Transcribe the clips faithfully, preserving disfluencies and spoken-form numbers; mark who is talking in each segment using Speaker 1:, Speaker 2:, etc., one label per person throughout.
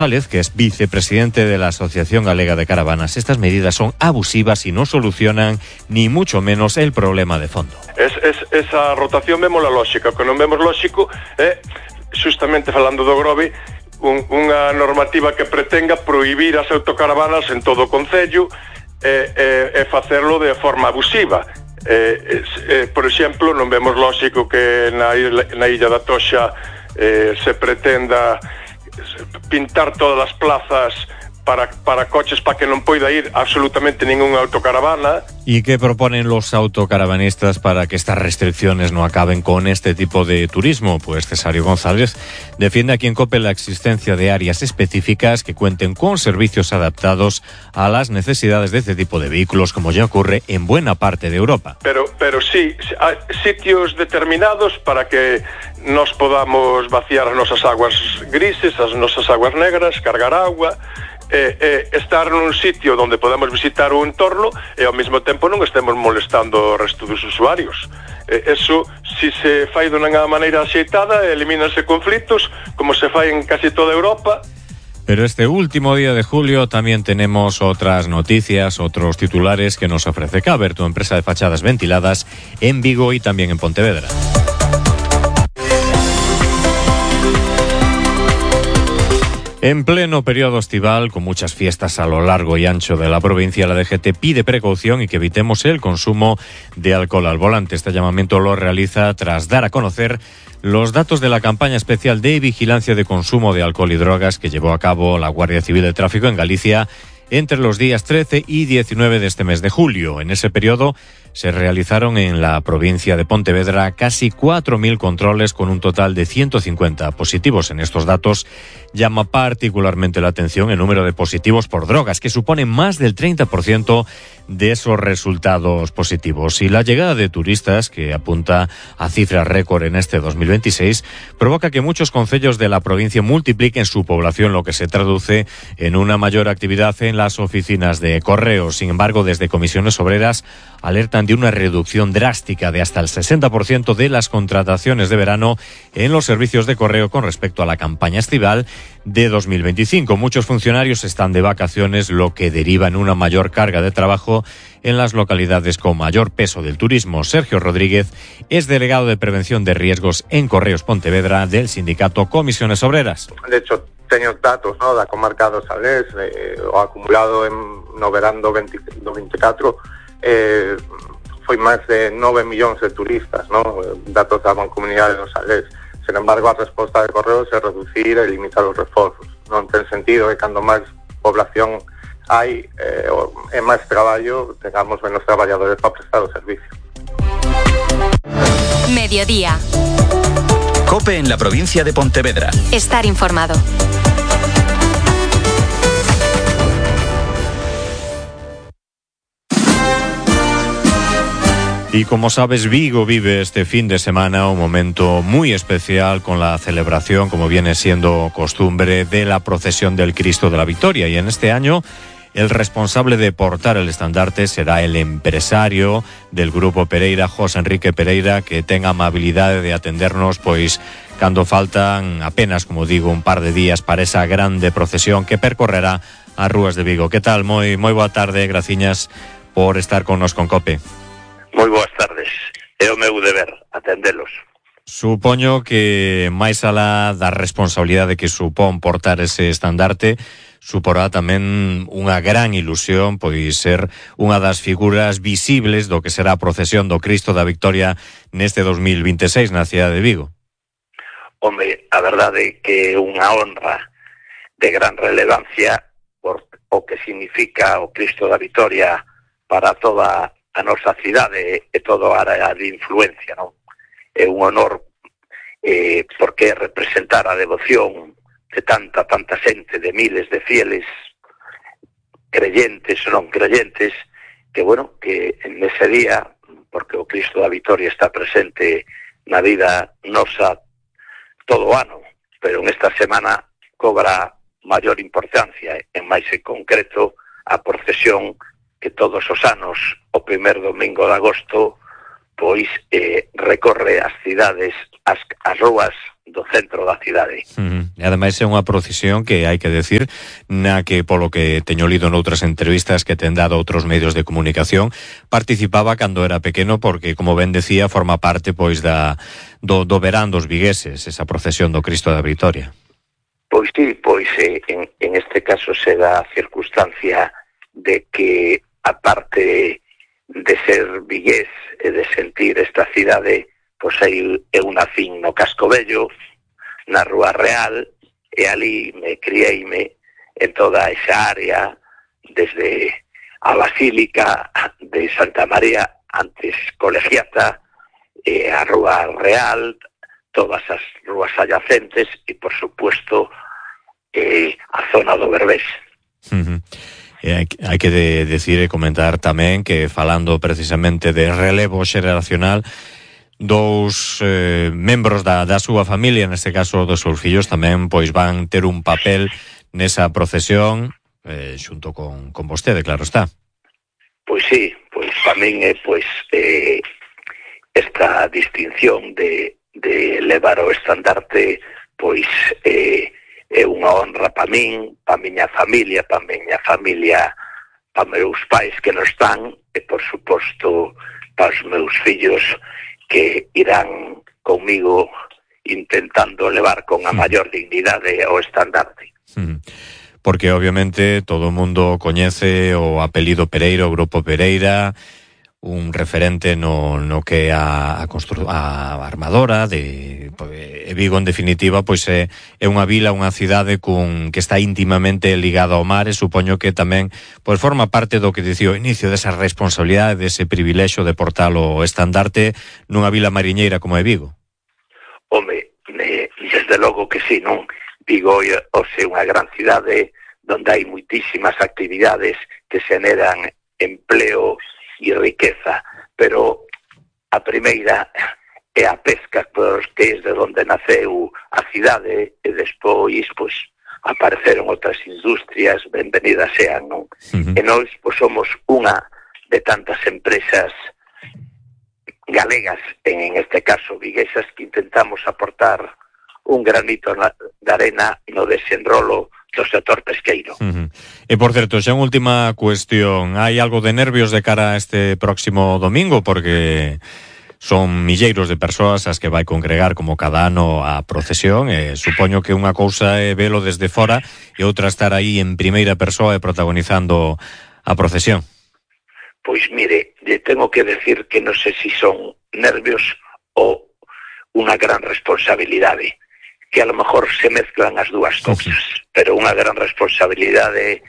Speaker 1: González, que es vicepresidente de la Asociación Galega de Caravanas. Estas medidas son abusivas y no solucionan ni mucho menos el problema de fondo.
Speaker 2: Es, es, esa rotación vemos la lógica, o que non vemos lógico é, justamente falando do Grove, un, unha normativa que pretenga prohibir as autocaravanas en todo o concello e, e, e facerlo de forma abusiva. Eh, eh, por exemplo, non vemos lógico que na, na Illa da Toxa eh, se pretenda pintar todas as plazas para, para coches para que non poida ir absolutamente ninguna autocaravana.
Speaker 1: ¿Y qué proponen los autocaravanistas para que estas restricciones no acaben con este tipo de turismo? Pues Cesario González defiende aquí en COPE la existencia de áreas específicas que cuenten con servicios adaptados a las necesidades de este tipo de vehículos, como ya ocurre en buena parte de Europa.
Speaker 2: Pero, pero sí, hay sitios determinados para que nos podamos vaciar as nosas aguas grises, as nosas aguas negras, cargar agua, Eh, eh, estar nun sitio onde podemos visitar o entorno e ao mesmo tempo non estemos molestando o resto dos usuarios. Eh, eso, si se fai dunha maneira axeitada, elimínanse conflitos, como se fai en casi toda Europa.
Speaker 1: Pero este último día de julio también tenemos otras noticias, otros titulares que nos ofrece Caber, tu empresa de fachadas ventiladas en Vigo y también en Pontevedra. En pleno periodo estival, con muchas fiestas a lo largo y ancho de la provincia, la D G T pide precaución y que evitemos el consumo de alcohol al volante. Este llamamiento lo realiza tras dar a conocer los datos de la campaña especial de vigilancia de consumo de alcohol y drogas que llevó a cabo la Guardia Civil de Tráfico en Galicia entre los días trece y diecinueve de este mes de julio. En ese periodo se realizaron en la provincia de Pontevedra casi cuatro mil controles con un total de ciento cincuenta positivos. En estos datos llama particularmente la atención el número de positivos por drogas, que supone más del treinta por ciento de esos resultados positivos. Y la llegada de turistas, que apunta a cifras récord en este dos mil veintiséis, provoca que muchos concellos de la provincia multipliquen su población, lo que se traduce en una mayor actividad en las oficinas de correos. Sin embargo, desde Comisiones Obreras alertan de una reducción drástica de hasta el sesenta por ciento de las contrataciones de verano en los servicios de correo con respecto a la campaña estival de dos mil veinticinco. Muchos funcionarios están de vacaciones, lo que deriva en una mayor carga de trabajo en las localidades con mayor peso del turismo. Sergio Rodríguez es delegado de Prevención de Riesgos en Correos Pontevedra del sindicato Comisiones Obreras.
Speaker 3: De hecho, teño datos, no, da comarca do Salés, eh, o acumulado en no verán do veinticuatro, eh, foi máis de nove millóns de turistas, no? Datos da Mancomunidade do Salés. Sin embargo, a resposta de Correos é reducir e limitar os reforzos. Non ten sentido que cando máis población hai eh, e máis traballo, tengamos menos traballadores para prestar o servicio.
Speaker 4: Mediodía.
Speaker 5: COPE en la provincia de Pontevedra.
Speaker 4: Estar informado.
Speaker 1: Y como sabes, Vigo vive este fin de semana un momento muy especial con la celebración, como viene siendo costumbre, de la procesión del Cristo de la Victoria. Y en este año, el responsable de portar el estandarte será el empresario del Grupo Pereira, José Enrique Pereira, que tenga amabilidad de atendernos, pues cando faltan apenas, como digo, un par de días para esa grande procesión que percorrerá as rúas de Vigo. Que tal? Moi, moi boa tarde, graciñas por estar con nos con COPE.
Speaker 6: Moi boas tardes, é o meu deber atendelos.
Speaker 1: Supoño que máis alá da responsabilidade que supón portar ese estandarte, suporá tamén unha gran ilusión pois ser unha das figuras visibles do que será a procesión do Cristo da Victoria neste dos mil veintiséis na cidade de Vigo.
Speaker 6: Home, a verdade é que é unha honra de gran relevancia por o que significa o Cristo da Victoria para toda a nosa cidade e toda a área de influencia, non? É un honor eh, porque representar a devoción de tanta, tanta xente, de miles de fieles, creyentes ou non creyentes, que, bueno, que nese día, porque o Cristo da Victoria está presente na vida nosa todo o ano, pero en esta semana cobra maior importancia, en máis en concreto a procesión que todos os anos, o primer domingo de agosto, pois eh, recorre as cidades, as, as rúas do centro da cidade.
Speaker 1: Uh-huh. E ademais é unha procesión que hai que decir na que, polo que teño lido noutras entrevistas que ten dado outros medios de comunicación, participaba cando era pequeno porque, como ben decía, forma parte pois da do, do verán dos vigueses, esa procesión do Cristo da Vitoria.
Speaker 6: Pois sí, pois eh, en, en este caso se dá a circunstancia de que, aparte de ser vigués e de sentir esta cidade, pois aí eu nacín no Casco Vello, na Rúa Real, e ali me crieime en toda esa área, desde a Basílica de Santa María, antes Colegiata, e a Rúa Real, todas as rúas adyacentes e, por supuesto, eh, a zona do Berbés.
Speaker 1: Uh-huh. E hai, hai que de, decir e comentar tamén que, falando precisamente de relevo xeracional, dous eh, membros da, da súa familia, neste caso dos seus fillos, tamén pois van ter un papel nesa procesión eh, xunto con, con vostede, claro está.
Speaker 6: Pois sí, pois tamén é pois eh, esta distinción de, de levar o estandarte, pois eh, é unha honra pa min, pa miña familia, pa miña familia, pa meus pais que non están, e por suposto pa os meus fillos que irán comigo intentando levar con a maior dignidade o estandarte.
Speaker 1: Porque obviamente todo o mundo coñece o apelido Pereira, o Grupo Pereira, un referente no, no que a, a, constru, a armadora de e Vigo, en definitiva, pois é, é unha vila, unha cidade cun, que está íntimamente ligada ao mar, e supoño que tamén pois forma parte do que dicía o inicio desa responsabilidade, dese privilexio de portar o estandarte nunha vila mariñeira como é Vigo.
Speaker 6: Home, me, desde logo que sí, non? Vigo é unha gran cidade onde hai moitísimas actividades que xeneran empleo e riqueza, pero a primeira é a pesca, porque é de onde naceu a cidade, e despois pois apareceron outras industrias, benvenidas sean, non? Uh-huh. E nós pois somos unha de tantas empresas galegas, en este caso viguesas, que intentamos aportar un granito de arena no desenrolo do sector pesqueiro.
Speaker 1: Uh-huh. E, por certo, xa unha última cuestión. Hai algo de nervios de cara a este próximo domingo? Porque son milleiros de persoas as que vai congregar como cada ano a procesión, e supoño que unha cousa é velo desde fora e outra estar aí en primeira persoa e protagonizando a procesión.
Speaker 6: Pois mire, le tengo que decir que non sei se son nervios ou unha gran responsabilidade, que a lo mejor se mezclan as dúas cousas, sí, pero unha gran responsabilidade,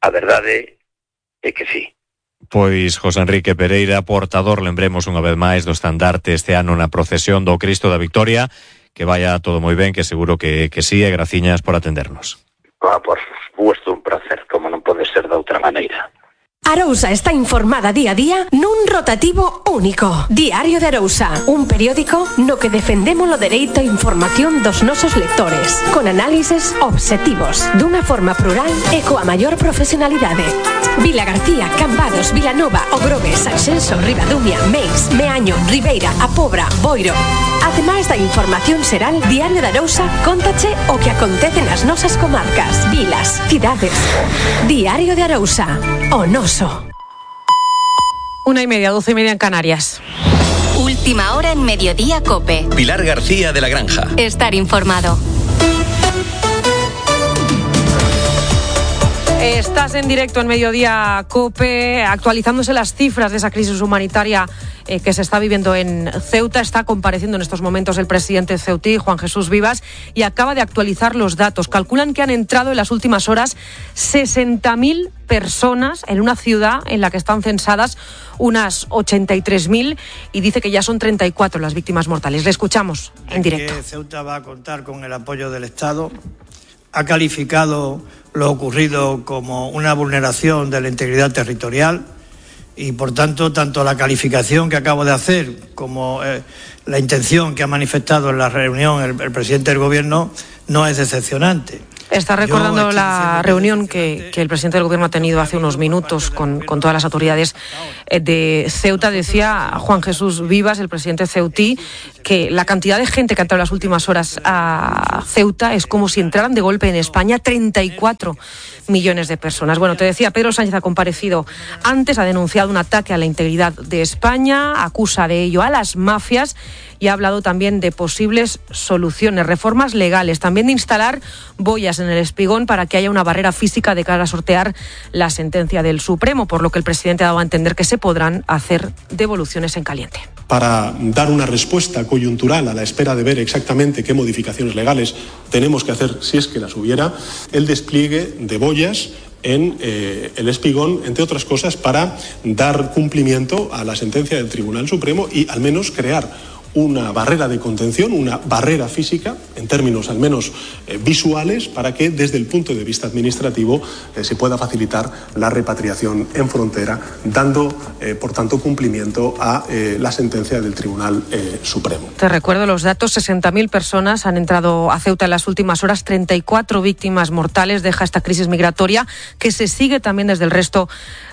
Speaker 6: a verdade é que sí.
Speaker 1: Pois José Enrique Pereira, portador, lembremos unha vez máis, do estandarte este ano na procesión do Cristo da Victoria, que vaya todo moi ben, que seguro que, que sí, e graciñas por atendernos.
Speaker 6: Ah, por supuesto, un placer, como non pode ser de outra maneira.
Speaker 4: Arousa está informada día a día nun rotativo único. Diario de Arousa, un periódico no que defendemos o dereito a información dos nosos lectores, con análises obxectivos, dunha forma plural e coa maior profesionalidade. Vila García, Cambados, Vilanova, Ogrove, Sanxenxo, Ribadumia, Meis, Meaño, Ribeira, A Pobra, Boiro. Ademais da información xeral, Diario de Arousa cóntache o que acontece nas nosas comarcas, vilas, cidades. Diario de Arousa, o noso.
Speaker 7: Una y media, doce y media en Canarias.
Speaker 8: Última hora en Mediodía COPE.
Speaker 5: Pilar García de la Granja.
Speaker 8: Estar informado.
Speaker 7: Estás en directo en Mediodía COPE, actualizándose las cifras de esa crisis humanitaria eh, que se está viviendo en Ceuta. Está compareciendo en estos momentos el presidente ceutí, Juan Jesús Vivas, y acaba de actualizar los datos. Calculan que han entrado en las últimas horas sesenta mil personas en una ciudad en la que están censadas unas ochenta y tres mil, y dice que ya son treinta y cuatro las víctimas mortales. Le escuchamos en directo.
Speaker 9: Que Ceuta va a contar con el apoyo del Estado. Ha calificado lo ocurrido como una vulneración de la integridad territorial y, por tanto, tanto la calificación que acabo de hacer como eh, la intención que ha manifestado en la reunión el, el presidente del Gobierno no es decepcionante.
Speaker 7: Está recordando la reunión que, que el presidente del Gobierno ha tenido hace unos minutos con, con todas las autoridades de Ceuta. Decía Juan Jesús Vivas, el presidente ceutí, que la cantidad de gente que ha entrado en las últimas horas a Ceuta es como si entraran de golpe en España treinta y cuatro millones de personas. Bueno, te decía, Pedro Sánchez ha comparecido antes, ha denunciado un ataque a la integridad de España, acusa de ello a las mafias y ha hablado también de posibles soluciones, reformas legales, también de instalar boyas en el Espigón para que haya una barrera física de cara a sortear la sentencia del Supremo, por lo que el presidente ha dado a entender que se podrán hacer devoluciones en caliente.
Speaker 10: Para dar una respuesta coyuntural a la espera de ver exactamente qué modificaciones legales tenemos que hacer, si es que las hubiera, el despliegue de boyas en eh, el Espigón, entre otras cosas, para dar cumplimiento a la sentencia del Tribunal Supremo y al menos crear una barrera de contención, una barrera física, en términos al menos eh, visuales, para que desde el punto de vista administrativo eh, se pueda facilitar la repatriación en frontera, dando, eh, por tanto, cumplimiento a eh, la sentencia del Tribunal eh, Supremo.
Speaker 7: Te recuerdo los datos, sesenta mil personas han entrado a Ceuta en las últimas horas, treinta y cuatro víctimas mortales, deja esta crisis migratoria que se sigue también desde el resto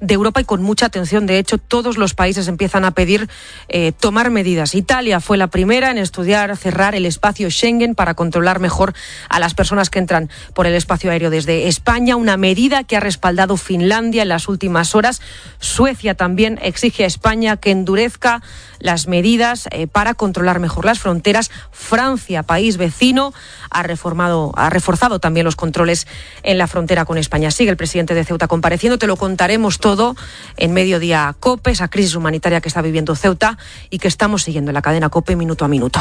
Speaker 7: de Europa y con mucha atención. De hecho, todos los países empiezan a pedir eh, tomar medidas. Italia fue la primera en estudiar cerrar el espacio Schengen para controlar mejor a las personas que entran por el espacio aéreo desde España, una medida que ha respaldado Finlandia en las últimas horas. Suecia también exige a España que endurezca las medidas eh, para controlar mejor las fronteras. Francia, país vecino, ha reformado, ha reforzado también los controles en la frontera con España. Sigue el presidente de Ceuta compareciendo, te lo contaremos todo en Mediodía COPE, esa crisis humanitaria que está viviendo Ceuta y que estamos siguiendo en la cadena COPE minuto a minuto.